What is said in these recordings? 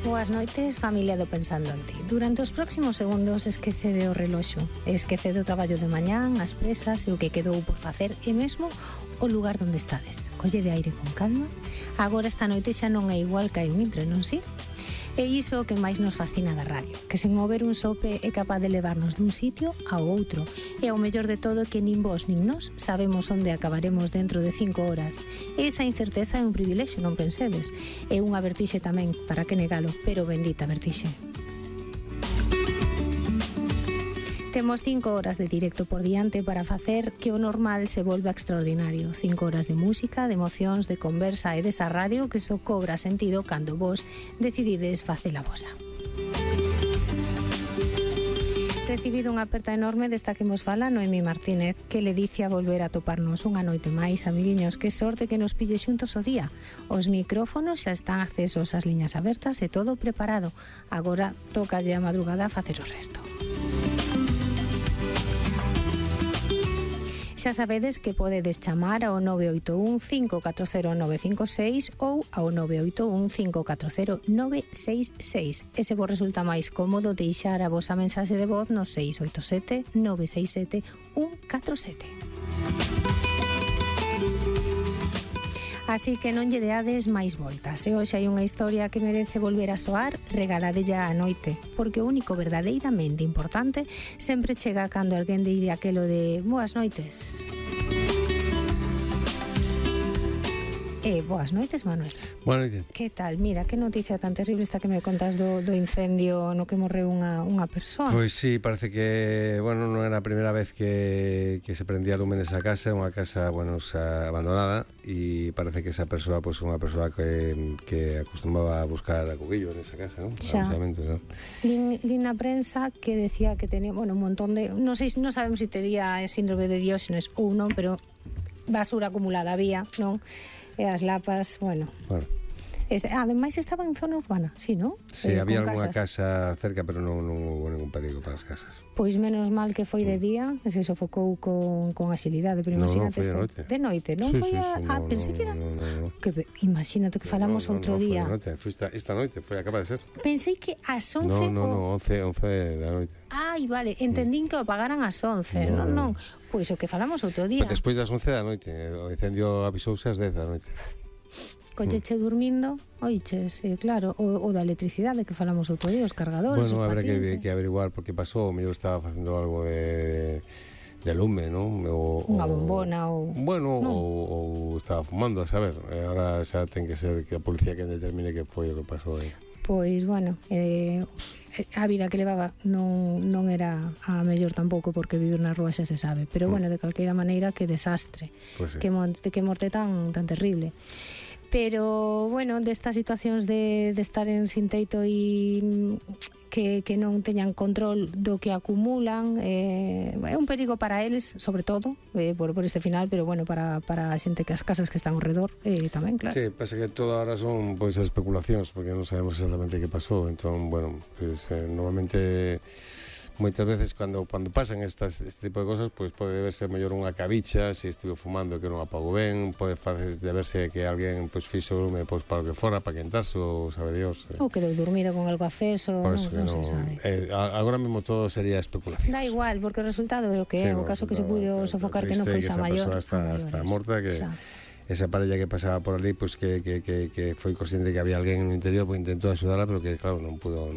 Boas noites, familia do Pensando en Ti. Durante os próximos segundos esquecede o reloxo, esquecede o traballo de mañán, as presas e o que quedou por facer e mesmo o lugar onde estades. Collede aire con calma. Agora esta noite xa non é igual que hai un intre, non si? É iso o que máis nos fascina da radio, que sen mover un sope é capaz de levarnos dun sitio ao outro. E o mellor de todo é que nin vos nin nós sabemos onde acabaremos dentro de 5 horas. E esa incerteza é un privilexio, non pensedes. É unha vertixe tamén, para que negalo, pero bendita vertixe. Temos 5 horas de directo por diante para facer que o normal se volva extraordinario. 5 horas de música, de emocións, de conversa e desa radio que só cobra sentido cando vos decidides facela vosa. Recibido unha aperta enorme desta que nos fala Noemí Martínez, que le dice a volver a toparnos unha noite máis, amiguiños, que sorte que nos pille xuntos o día. Os micrófonos xa están accesos, as liñas abertas e todo preparado. Agora toca a madrugada a facer o resto. Xa sabedes que podedes chamar ao 981 540 956 ou ao 981 540 966. E se vos resulta máis cómodo deixar a vosa mensaxe de voz no 687 967 147. Así que non lle deades máis voltas. E hoxe hai unha historia que merece volver a soar, regaladella a noite, porque o único verdadeiramente importante sempre chega cando alguén dire aquelo de boas noites. Boas noites, Manuel. Boas noites. Que tal? Mira, que noticia tan terrible esta que me contas do incendio no que morreu unha persoa. Pois sí, parece que, bueno, non era a primeira vez que se prendía lume nesa casa, unha casa, bueno, abandonada, e parece que esa persoa, pois, unha persoa que acostumaba a buscar a cubillo nesa casa, non? Xa. ¿No? Lin na prensa que decía que tenía, bueno, un montón de, non sabemos se tería síndrome de Dióxenes ou non, pero basura acumulada había, non? E as lapas, bueno. Ademais estaba en zona urbana, sí, non? Sí, había algunha casa cerca, pero non houve ningún perigo para as casas. Pois menos mal que foi de día, se sofocou con axilidade, pero imagínate. Non, foi de noite. De noite, non foi pensei que era. Que imagínate que falamos outro día. Non, foi esta noite, acaba de ser. Pensei que ás 11 No, 11 da noite. Ai, vale, entendín que o apagaran ás 11, non. Pois o que falamos outro día. Despois das 11 da noite, o incendio avisouse ás 10 da noite. Colleche dormindo, oiches, claro, o da electricidade que falamos outro día, os cargadores, bueno, os habrá patins. que averiguar por que pasou, o mellor estaba facendo algo de lume, non? Unha bombona ou... Bueno, ou estaba fumando, a saber. Agora xa ten que ser que a policía que determine que foi o que pasou aí. Pois, bueno, a vida que levaba non era a mellor tampouco, porque vivir na rúa xa se sabe, pero bueno, de calqueira maneira, que desastre, pues sí. que morte tan terrible. Pero, bueno, destas situacións de estar en sin teito e que non teñan control do que acumulan, é un perigo para eles, sobre todo, por este final, pero, bueno, para a xente que as casas que están ao redor tamén, claro. Sí, pasa que todo ahora son, pois, especulacións, porque non sabemos exactamente que pasou, entón, bueno, pues, normalmente... Moitas veces cando pasan este tipo de cosas, pois pode verse mellor unha cabicha, se estivo fumando que non apagou ben, pode verse que alguén pois fixo lume pois para o que fora, para quentarse, ou sabe Dios. Ou quedou dormido con algo aceso, non se sabe. Agora mesmo todo sería especulación. Da igual, porque o resultado é o que é, o caso que se puido sofocar que non foi xa maior. Esa persoa está morta, que esa parella que pasaba por ali, pois que foi consciente que había alguén no interior, pois intentou axudarla, pero que claro, non pudo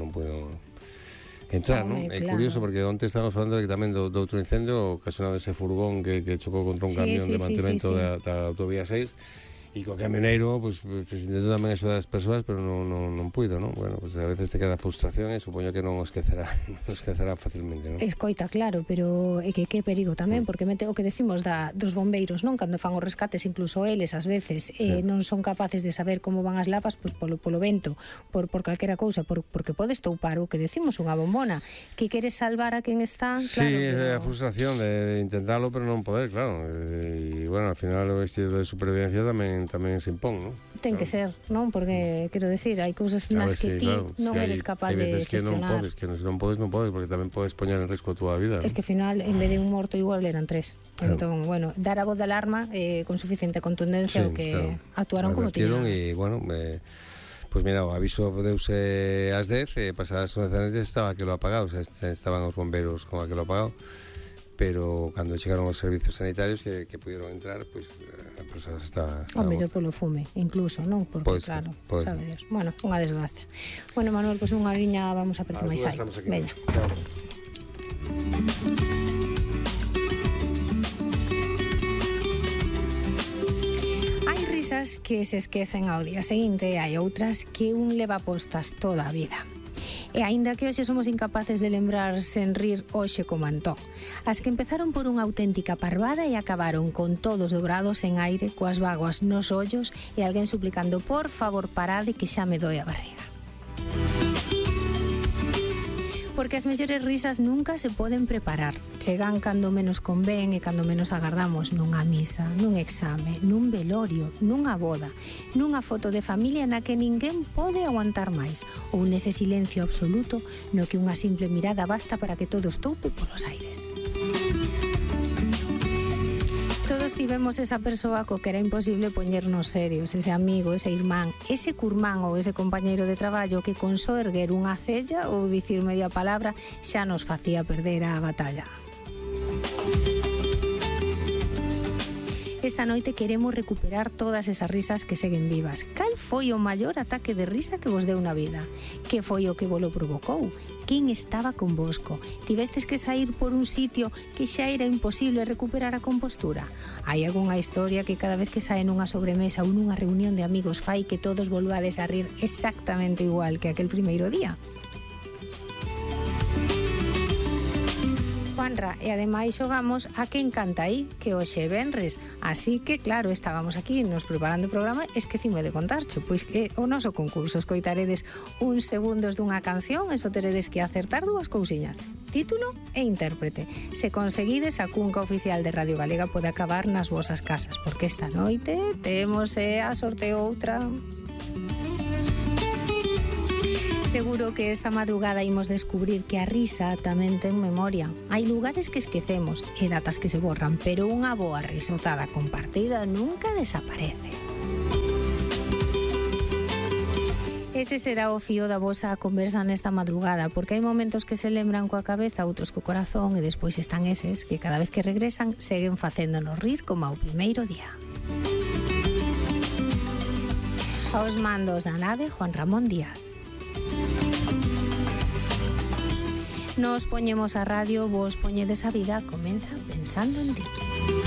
entrar, non? É curioso porque onte estábamos falando de que tamén do outro incendio ocasionado ese furgón que chocou contra un camión de mantemento da autovía 6 e co camioneiro pues intentou tamén axudar as persoas, pero non puido, non? Bueno, pues a veces te queda frustración e supoño que non os esquecerá facilmente, non? Escoita, claro, pero é que perigo tamén, porque o que decimos dos bombeiros, non? Cando fan os rescates, incluso eles ás veces non son capaces de saber como van as lapas, pois polo vento, por calquera cousa, porque podes toupar o que decimos unha bombona, que queres salvar a quen está, claro. Sí, é a frustración de intentalo, pero non poder, claro. E bueno, al final o instinto de supervivencia tamén se impón, non? Ten que ser, non? Porque, quero decir, hai cousas nas que ti non eres capaz de gestionar. Que non podes, porque tamén podes poñer en risco a túa vida. Es que ao final, en vez de un morto, igual eran 3. Entón, bueno, dar a voz de alarma con suficiente contundencia o que actuaron como tiñan. E, bueno, Pois mira, o aviso deuse ás 10 e pasadas as 11 estaba aquilo apagado, o sea, estaban os bombeiros con aquilo apagado, pero cando chegaron os servizos sanitarios que pudieron entrar, pois a persoa estaba o mellor polo fume, incluso, non? Porque claro, sabe Dios. Bueno, unha desgracia. Bueno, Manuel, pois unha liña vamos a ver que máis hai. Veña. Chao. Hai risas que se esquecen ao día seguinte e hai outras que un leva postas toda a vida. E aínda que hoxe somos incapaces de lembrar sen rir hoxe como Antón, as que empezaron por unha auténtica parvada e acabaron con todos dobrados en aire, coas vaguas nos ollos e alguén suplicando por favor parade que xa me doi a barriga. Porque as mellores risas nunca se poden preparar. Chegan cando menos convén e cando menos agardamos, nunha misa, nun exame, nun velorio, nunha boda, nunha foto de familia na que ninguén pode aguantar máis, ou nese silencio absoluto no que unha simple mirada basta para que todo estoupe polos aires. Todos tivemos esa persoa co que era imposible poñernos serios, ese amigo, ese irmán, ese curmán ou ese compañeiro de traballo que con só erguer unha cella ou dicir media palabra xa nos facía perder a batalla. Esta noite queremos recuperar todas esas risas que seguen vivas. Cal foi o maior ataque de risa que vos deu na vida? Que foi o que vos lo provocou? Quen estaba convosco? Tivestes que sair por un sitio que xa era imposible recuperar a compostura? Hai algunha historia que cada vez que sae nunha sobremesa ou nunha reunión de amigos fai que todos volvades a rir exactamente igual que aquel primeiro día? Juanra, e ademais xogamos a quen canta aí, que hoxe é venres. Así que, claro, estábamos aquí nos preparando o programa e esquecime de contarche, pois que o noso concurso escoitaredes uns segundos dunha canción e só teredes que acertar dúas cousiñas, título e intérprete. Se conseguides, a cunca oficial de Radio Galega pode acabar nas vosas casas, porque esta noite temos a sorteo outra. Seguro que esta madrugada imos descubrir que a risa tamén ten memoria. Hai lugares que esquecemos e datas que se borran, pero unha boa risotada compartida nunca desaparece. Ese será o fío da vosa conversa nesta madrugada, porque hai momentos que se lembran coa cabeza, outros co corazón, e despois están eses que cada vez que regresan seguen facéndonos rir como ao primeiro día. Aos mandos da nave, Juan Ramón Díaz. Nos poñemos a radio, vos poñedes a vida, comeza pensando en ti.